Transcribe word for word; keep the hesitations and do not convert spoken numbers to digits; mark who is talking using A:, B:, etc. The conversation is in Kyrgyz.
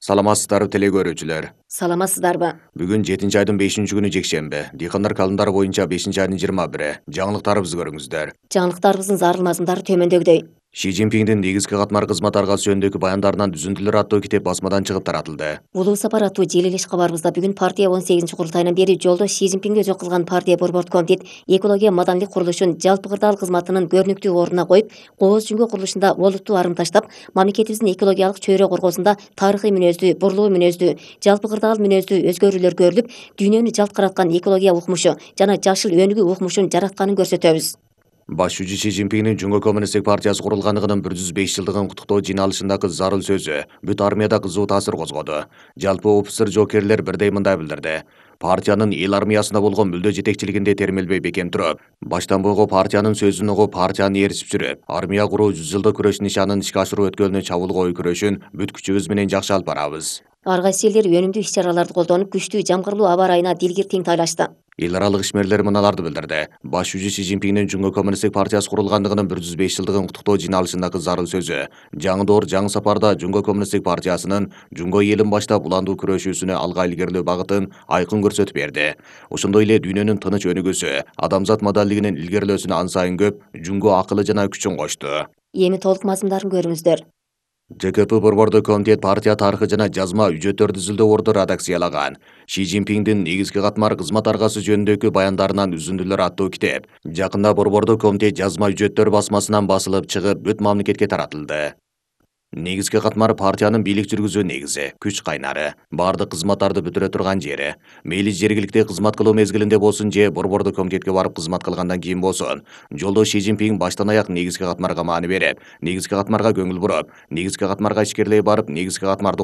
A: Саламатсыздарбы теле көрүүчүлөр.
B: Саламатсыздарбы?
A: Бүгүн жетинчи айдын бешинчи күнү жекшемби. Дыйкандар календары боюнча бешинчи айдын жыйырма бири. Жаңылыктарыбызды көрүңүздөр.
B: Жаңылыктарыбыздын зарыл мазмундары төмөндөгүдөй.
A: Ши Цзиньпиндин негизги катмар кызмат аргасы жөнүндөгү баяндарынан үзүндүлөр аттуу китеп басмадан чыгып таратылды.
B: Улуу сапар аттуу желилеш кабарыбызда бүгүн партия он сегизинчи курултайынан бери жолдо Ши Цзиньпинге өзөк кылган партия борбордук комитет экология маданилик курулушун жалпы кырдаал кызматынын көрүнүктүү ордуна коюп, кооз жүнгө курулушунда олуттуу арым таштап, мамлекетибиздин экологиялык чөйрө коргоосунда тарыхый мүнөздүү, бурлуу мүнөздүү, жалпы кырдаал мүнөздүү өзгөрүүлөр көрүлүп, дүйнөнү жалт караткан экология укмушу жана жашыл өнүгүү укмушун жаратканын көрсөтөбүз.
A: Баш жүзү Ши Цзиньпиндин Жумгө коммунисттик партиясы курулганлыгынын бир жүз беш жылдыгын куттуктоо жыйналышындагы зарыл сөзү бүт армияда кызуу таасир козгоду. Жалпы офицер жоокерлер бирдей мындай билдирди. Партиянын эл армиясына болгон мүлдө жетекчилигинде термелбей бекем туруп, баштан бойго партиянын сөзүн угуп, партияны ээрчип жүрүп, армия куруу жүз жылдык күрөш нишанын ишке ашыруу өткөлүнө чабуул коюу күрөшүн бүт күчүбүз менен жакшы алып барабыз.
B: Ар кайсы элдер өнүмдүү иш-чараларды колдонуп, күчтүү жамгырлуу аба ырайына дилгир тең тайлашты.
A: Эл аралык ишмерлер мыналарды билдирди. Баш жүзү Ши Цзиньпиндин Жумгө коммунисттик партиясы курулганлыгынын бир жүз беш жылдыгын куттуктоо жыйналышындагы зарыл сөзү жаңы доор, жаңы сапарда Жумгө коммунисттик партиясынын Жумгө элин баштап уландуу күрөшүүсүнө алга илгерилөө багытын айкын көрсөтүп берди. Ошондой эле дүйнөнүн тыныч өнүгүүсү, адамзат модалдигинин илгерилөөсүнө ан сайын көп Жумгө акылы жана күчүн кошту.
B: Эми толук мазмундарын көрүңүздөр.
A: Ж К П борбордук комитет партия тарыхы жана жазма үжөттөрдү изилдөө редакциялаган. Ши Цзиньпиндин негизги катмар кызмат аргасы жөнүндөгү баяндарынан үзүндүлөр аттуу китеп жакында борбордук комитет жазма үжөттөр басмасынан басылып чыгып, бүт мамлекетке таратылды. Негизги катмар партиянын бийлик жүргүзүү негизи, күч кайнары, бардык кызматтарды бүтүрө турган жери. Мейли жергиликте кызмат кылуу мезгилинде болсун же борбордук комитетке барып кызмат кылгандан кийин болсун. Жолдо Ши Цзиньпин баштан аяк негизги катмарга маани берип, негизги катмарга көңүл буруп, негизги катмарга ичкерлей барып, негизги катмарды